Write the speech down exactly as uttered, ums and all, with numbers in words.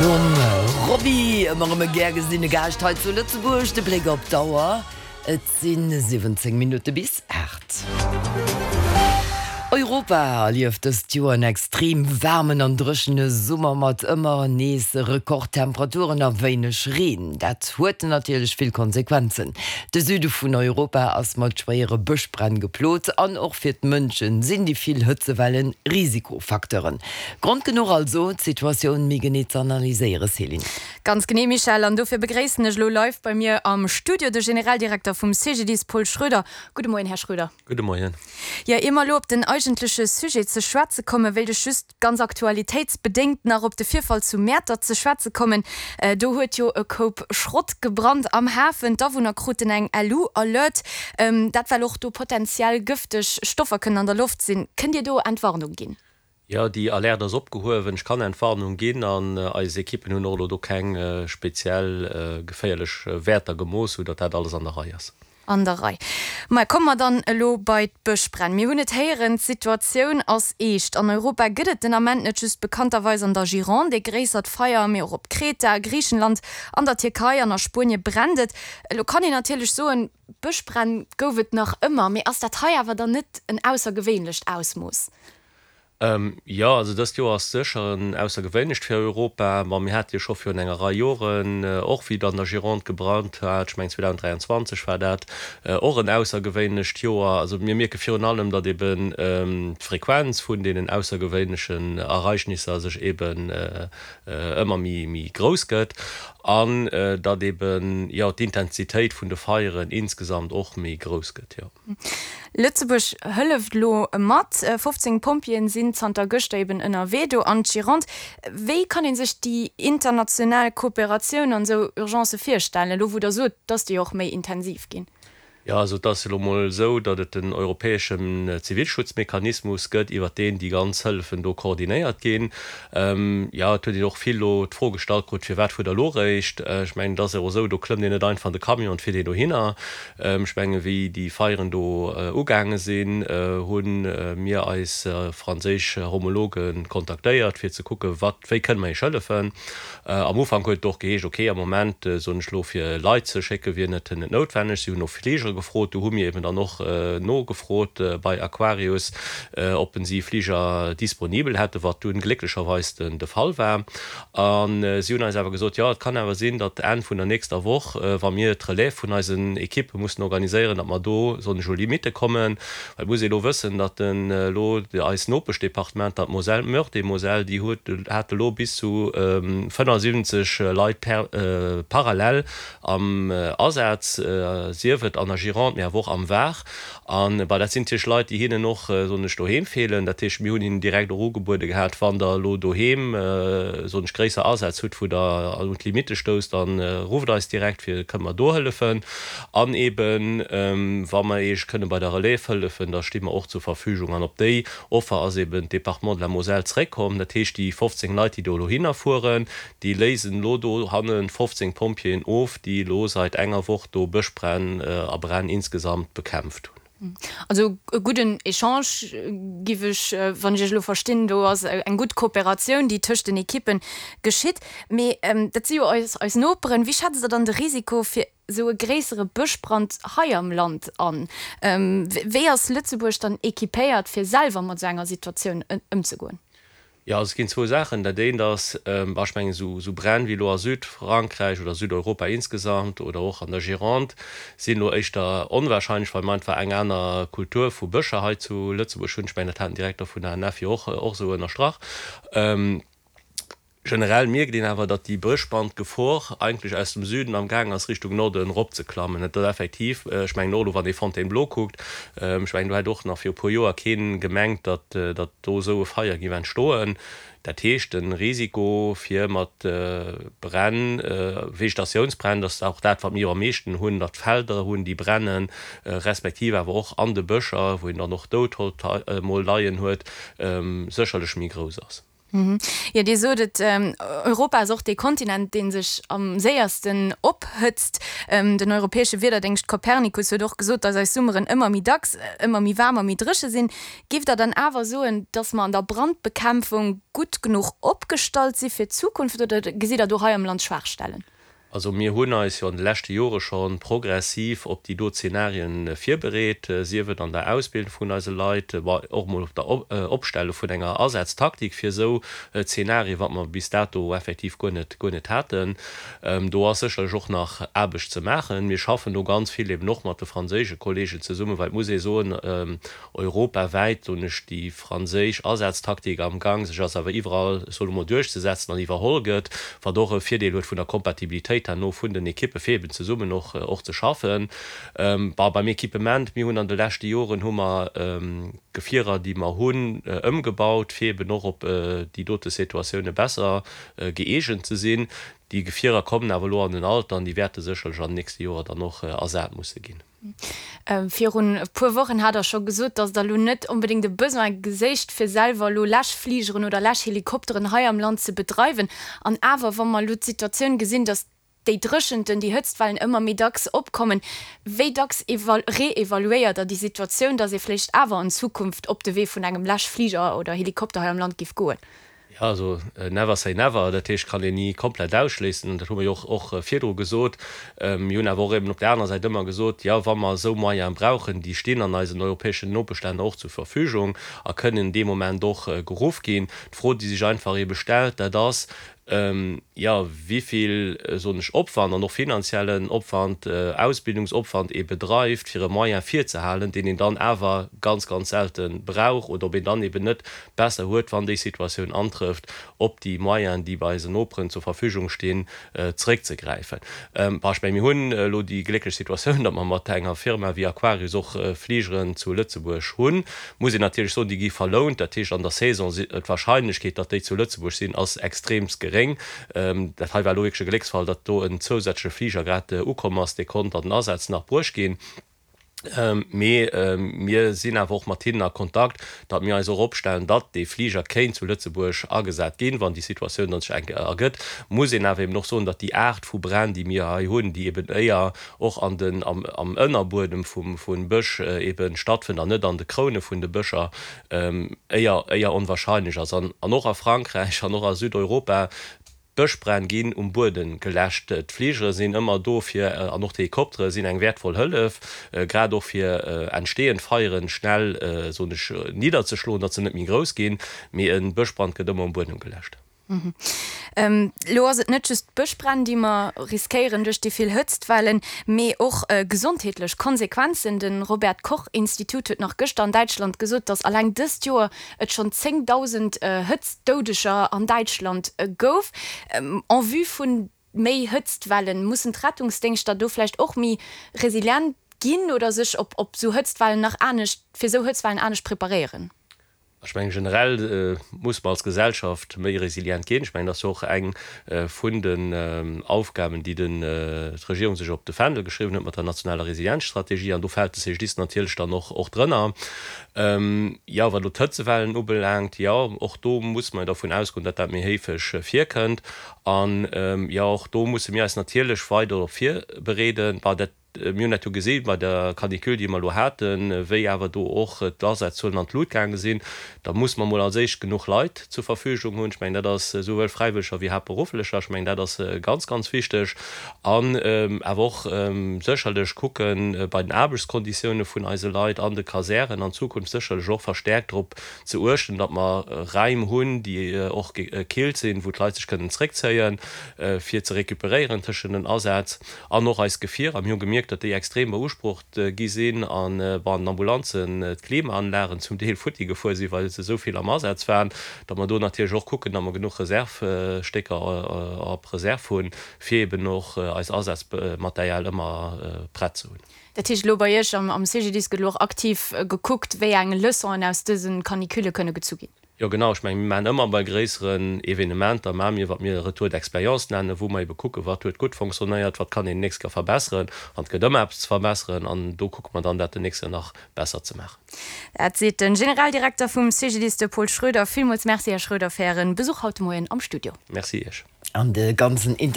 Nom Robbie, ëmmer erëm e gär gesinne Gaascht hei zu Lëtzebuerg, de Bléck op d'Auer, et si siwwenzéng Minutte bis aacht. Europa erlieft dëst Joer en extrem waarmen an dréchene Summer mat ëmmer nees Rekordtemperaturen a wéineg Reen. Dat huet natierlech vill Konsequenzen. De Süde vun Europa ass mat schwéiere Bëschbränn geplot an och fir d'Mënschen sinn déi vill Hëtzewellen Risikofacteuren. Grond genuch also, d'Situatioun méi genee ze analyséieren, Céline. Ganz genee, Michèle, an dofir begréissen ech elo live bei mir am Studio de Generaldirekter vum C G D I S Paul Schroeder. Gudde Moien, Här Schroeder. Gudde Moien. Jo, ier mer elo op den eigentleche Sujet ze schwätze kommen, wéilt ech just ganz aktualitéitsbedéngt nach op de Virfall zu Mäertert ze schwätze kommen. Do huet jo e Koup Schrott gebrannt am Hafen. D'Awunner kruten eng L U-Alert, dat well och do potenziell gëfteg Stoffer kënnen an der Loft sinn. Kënnt Dir do Entwarnung ginn? Jo, déi Alerte ass opgehuewen. Ech kann Entwarnung ginn an eis Ekippen hunn och elo do keng speziell geféierlech Wäerter gemooss, sou datt dat alles an der Rei ass. An der Rei. Mä komme mer dann elo bei d'Bëschbränn. Mir hunn et héieren, d'Situatioun ass eescht. An Europa gëtt et den Ament net just bekannterweis an der Gironde e gréissert Feier, mee och op Kreta, Griichenland, an der Tierkei an a Spuenie brennt et. Elo kann een natierlech soen, Bëschbränn gouf et nach ëmmer, mee ass dat hei awer dann net en aussergewéinlecht Ausmooss? Jo, also dëst Joer ass sécher en aussergewéinlecht fir Europa. Ma mir hate jo scho virun enger Rei Joren, och wéi et an der Gironde gebrannt hat, ech mengen zweedausenddräianzwanzeg war dat, och en aussergewéinlecht Joer. Also mir mierke virun allem, datt eben d'Frequenz vun deenen aussergewéinlechen Ereignisser sech eben ëmmer méi grouss gëtt an datt eben, jo, d'Intensitéit vun de Feieren insgesamt och méi grouss gëtt, jo. Lëtzebuerg hëlleft elo mat, fofzéng Pompjeeën sinn zanter gëschter eben ënnerwee do an d'Gironde. Wéi kann ee sech déi international Kooperatioun an esou Urgencë virstellen, elo wou Der sot, dass déi och méi intensiv ginn? Jo, also et ass elo mol esou, datt et en europäeschen Zivilschutzmechanismus gëtt, iwwert deen déi ganz Hëllefen do koordinéiert ginn. Jo, et huet een och vill elo d'Fro gestallt krut, Firwat fuert Der elo eréischt? Ech mengen, et ass och esou, do klëmmt een net einfach an de Camion an fiert een dohinner. Ech mengen, wéi déi Feieren do ugaange sinn, hu mir eis franséisch Homologe kontaktéiert, fir ze kucken, wat, wéi kënne mer iech hëllefen. Am Ufank huet et och geheescht, ok, am Moment, soen ech elo, fir Leit ze schécke wier net net noutwenneg. Si hunn no Fligere gefrot. Do hu mir eben dann och nogefrot bei Aquarius, ob si Fliger disponibel hätten, wat dunn glécklecherweis den de Fall war. A si hunn eis awer gesot, jo, et kann awer sinn, datt Enn vun der nächster Woch, wa mir d'Relève vun eisen Ekippe mussen organiséieren, datt mer do, soen ech, u Limitte kommen. Well et muss ee elo wëssen, datt elo eis Nopeschdepartementer, d'Moselle, d'Meurthe-et-Moselle, déi huet, hate elo bis zu fënnefasiwwenzeg Leit per parallel am Asaz, sief et an der Gironde, mee awer och am Var. An bah, dat sinn natierlech Leit, déi hinnen och, soen ech, doheem feelen. Dat heescht, mir hunn hinnen direkt och ugebuede gehat, wann Der elo doheem, soen ech, gréisser Asätz hutt, wou Der un d'Limitte stousst, da rufft eis direkt, fir kënne mer do hëllefen. An eeben, wa mer Iech kënne bei der Relève hëllefen, da sti mer och zur Verfügung. An op déi Offer ass eeben d'Département de la Moselle zréckkomm. Dat heescht, déi fofzéng Leit, déi do elo hinnerfueren, déi léisen elo dohanne fofzéng Pompjeeën of, déi elo seit enger Woch do Bëschbränn a Bränn insgesamt bekämpft hunn. Also e gudden Echange, giff ech, wann ech Iech elo verstinn. Do ass eng gutt Kooperatioun, déi tëscht den Ekippen geschitt. Mee dat si jo eis eis Noperen. Wéi schätzt Der dann de Risiko fir esou e gréissere Bëschbrand hei am Land an? Wéi ass Lëtzebuerg dann equipéiert, fir selwer mat esou enger Situatioun ëmzegoen? Jo, also et ginn zwou Saachen. Dat eent ass, bah, ech mengen, esou, esou Bränn wéi elo a Südfrankräich oder Südeuropa insgesamt oder och an der Gironde sinn elo éischter onwahrscheinlech, well mer einfach eng aner Kultur vu Bëscher hei zu Lëtzebuerg hunn. Ech mengen, dat hat den Direkter vun der A N F jo och, och esou ënnerstrach. Generell mierkt een awer, datt déi Bëschbrandgefor eigentlech aus dem Süden am gaang ass Richtung Norden eropzeklammen. Et ass effektiv, ech mengen och elo wann ee Fontainebleau kuckt, ech mengen do hätt och nach viru puer Joer kee gemengt, datt datt do esou e Feier géif entstoen. Dat heescht, de Risiko fir mat Bränn, Vegetatiounsbränn, dat ass och dat wat mir jo am meeschten hunn, datt Felder hunn déi brennen, respektiv awer och an de Bëscher, wou een dann och Doudholz mol leien huet, sécherlech méi grouss ass. Jo, Dir sot et, Europa ass och dee Kontinent, dee sech am séiersten ophëtzt. Den europäesche Wiederdéngscht Copernicus huet och gesot, datt eis Summeren ëmmer méi dacks ëmmer méi waarm a méi dréche sinn. Giff Der dann awer soen, datt mer an der Brandbekämpfung gutt genuch opgestallt si fir d'Zukunft oder gesitt Der do hei am Land Schwaachstellen? Also mir hunn eis jo an de leschte Jore scho progressiv op déi do Zenarien virbereet, sief et an der Ausbildung vun eise Leit, ma och emol op der Opstelle vun enger Asaztaktik fir esou Zenarien, wat mer bis dato effektiv guer net, guer net haten. Do ass sécherlech och nach Aarbecht ze maachen. Mir schaffen do ganz vill eben och mat de franséische Kollegen zesummen, well et muss ee soen, europawäit, soen ech, déi franséisch Asaztaktik am Gang sech ass awer iwwerall, ech soen emol, duerchzesetzen an iwwerholl gëtt, wat och e Virdeel huet vun der Kompatibilitéit herno vun den Ekippe fir eben zesummen och och ze schaffen. Bon, beim Equipement, mir hunn an de leschte Joren hu mer Gefierer, déi mer hunn, ëmgebaut, fir eben och op déi dote Situatioune besser gëeegent ze sinn. Déi Gefierer kommen awer elo an den Alter an déi wäerte sécherlech an den nächste Joer dann och ersat musse ginn. Virun e puer Wochen hat Der scho gesot, datt Der elo net onbedéngt e Besoin geséicht, fir selwer elo Läschfligeren oder Läschhelikopteren hei am Land ze bedreiwen. An awer, wa mer elo d'Situatioun gesinn, datt déi Dréchenten, déi Hëtztwellen ëmmer méi dacks opkommen, wéi dacks reevaluéiert Der déi Situatioun, datt ee vléicht awer an Zukunft op de Wee vun engem Läschfliger oder Helikopter hei am Land géif goen? Jo, also never say never, dat heescht, kann een ni komplett ausschléissen. Dat hu mer jo och virdru gesot. Mir hunn awer och eben op där anerer Säit ëmmer gesot, jo, wa mer esou Moyene brauchen, déi stinn an eisen europäeschen Nopeschlänner och zur Verfügung a kënnen dee Moment och geruff ginn. D'Fro, déi sech einfach ebe stellt, dat ass, jo, wéi vill, soen ech, Opwand an och finanziellen Opwand, Ausbildungsopwand ee bedreift, fir e Moyen virzehalen, deen een dann awer ganz, ganz selte brauch, oder ob een dann eben net besser huet, wann déi Situatioun antrëfft, op déi Moyenen, déi bei eisen Noperen zur Verfügung stinn, zréckzegräifen. Bon, ech mengen, mir hunn elo déi glécklech Situatioun, datt mer mat enger Firma wéi Aquarius och Fligeren zu Lëtzebuerg hunn. Muss een natierlech soen, déi gi verlount, dat heescht an der Saison, d'Wahrscheinlechkeet, datt déi zu Lëtzebuerg sinn, ass extremst geréng. Dat hei war elo wierklech e Glécksfall, datt do en zousätzleche Fliger grad ukomm ass, dee konnt an den Asaz nach bruecht ginn. Mee mir sinn awer och mat hinnen a Kontakt, datt mir eis och opstellen, datt dee Fliger kéint zu Lëtzebuerg agesat ginn, wann déi Situatioun dann sech eng Kéier ergëtt. Muss een awer eben och soen, datt déi Aart vu Bränn, déi mir hei hunn, déi eben éier och an den, am, am Ënnerbuedem vum, vun Bësch eben stattfënnt an net an de Kroune vun de Bëscher, éier, éier onwahrscheinlech ass. An, an och a Frankräich an och a Südeuropa, d'Bëschbränn ginn um Buedem geläscht. D'Fligere sinn ëmmer do fir, an och d'Helikoptere sinn eng wäertvoll Hëllef, grad och fir entstehend Feieren schnell, soen ech, nidderzeschloen, datt se net méi grouss ginn. Mee e Bëschbrand gëtt ëmmer um Buedem geläscht. Elo ass et net just d'Bëschbränn, déi mer riskéieren duerch déi vill Hëtztwellen, mee och gesondheetlech Konsequenzen. De Robert Koch Institut huet nach gëschter an Däitschland gesot, datt alleng dëst Joer et schonn zéngdausend Hëtztdoudeger an Däitschland gouf. En vue vu méi Hëtztwellen, mussen d'Rettungsdéngschter do vläicht och méi resilient ginn oder sech op esou Hëtztwellen nach anescht, fir esou Hëtztwellen anescht preparéieren? Ech mengen, generell muss mer als Gesellschaft méi resilient ginn. Ech mengen, dat ass jo och eng vun den Aufgaben, déi d'Regierung sech op de Fändel geschriwwen huet mat der nationaler Resilienzstrategie. An do fält de C G D I S natierlech dann och drënner. Jo, wat elo d'Hëtzewellen ubelaangt, jo, och do muss mer dervun ausgoen, datt dat méi héifeg virkënnt. An, jo, och do musse mir eis natierlech weider drop virbereeden. Dat Mir hunn dat jo gesi bei der Canicule, déi mer elo haten, wéi awer do och d'Asazzuelen an d'Lut gaange sinn. Da muss mer emol als éischt genuch Leit zur Verfügung hunn. Ech mengen, dat ass esouwuel Fräiwëlleger wéi Haaptberufflecher. Ech mengen, dat ass ganz, ganz wichteg. An awer och sécherlech kucke bei den Aarbechtskonditioune vun eise Leit an de Kasären an Zukunft sécherlech och verstäerkt drop ze uechten, datt mer Räim hunn, déi och gekillt sinn, wou d'Leit sech kënnen zréckzéien, fir ze recuperéieren tëschent den Asätz. An och eis Gefierer, mir hu gemierkt, datt déi extrem beusprocht gi sinn an bei den Ambulanzen d'Klimaanlagen zum Deel futti gefuer sinn, well se esou vill am Asaz waren, datt mer do natierlech och kucken, datt mer genuch Reservstécker op Reserv hunn, fir eben och eis Asazmaterial ëmmer prett ze hunn. Dat heescht, elo bei Iech am C G D I S gëtt elo och aktiv gekuckt, wéi eng Leçonen aus dëse Canicule kënne gezu ginn? Jo genau, ech mengen mir maachen ëmmer bei gréisseren Evenementer maache mir wat mir Retour d'expérience nennen, wou mer ebe kucken, wat huet gutt fonctionnéiert, wat kann een d'nächst Kéier verbesseren. An et gëtt ëmmer eppes ze verbesseren an do kucke mer dann dat den nächst Kéier nach besser ze maachen. Dat seet den Generaldirekter vum CGDIS, de Paul Schroeder. Villmools Merci, Här Schroeder, fir Ären Besuch haut de Moien am Studio. Merci Iech. An de ganzen Interview.